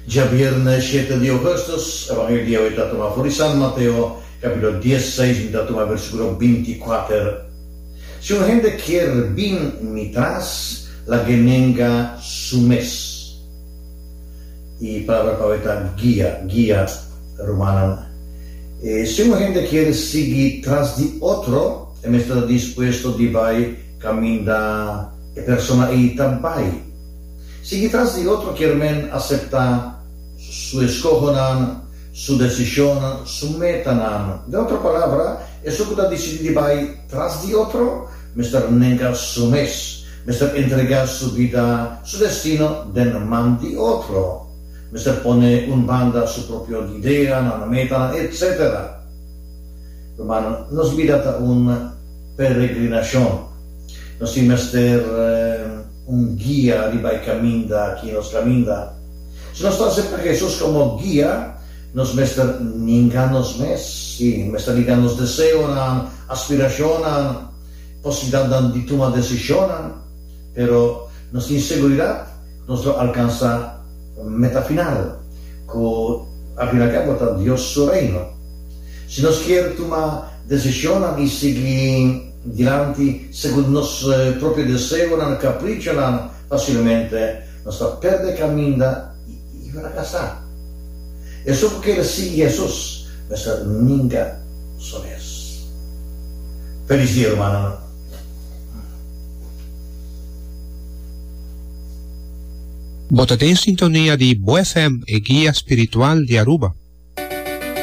Djabierne shete di ougùstùs, Evangelio di awe ta tuma for di San Mateo, kapítulo diesseis, mi ta tuma versíkulo bintikuater. Si un hende kier bin mi tras, lag'é nenga su mes. E palabra pa awe ta guia, guia, rumannan. Si un hende kier sigui tras di otro, e mester ta dispuesto di bai kaminda e persona ei ta bai. Sigui tras di otro kier men aseptá su eskohonan, su desishonnan, su metanan. Den otro palabra, esun ku ta disidí di bai tras di otro mester nenga su mes, mester entregá su bida, su destino den man di otro, mester pone un banda su propio ideanan, metanan, etcétera. Rumannan, nos bida ta un peregrinashon. Nos tin mester un guia riba e kaminda ki nos kaminda. Si nos ta aseptá Hesus komo guia, nos mester ninga nos mes, sí, mester ninga nos deseonan, aspirashonnan, posibilidatnan di tuma desishonnan, pero nos tin seguridat ku nos lo alkansá meta final, ku al fin al kabo ta Dios su Reino. Si nos kier tuma desishonnan i sigui dilanti segun nos propio deseonan, kaprichonan, fasilmente nos ta perde kaminda i frakasá. Esun ku kere sigui Hesus mester ninga su mes. Felis dia, rumannan! Bo ta den sintonia di Bo FM, e guia spiritual di Aruba.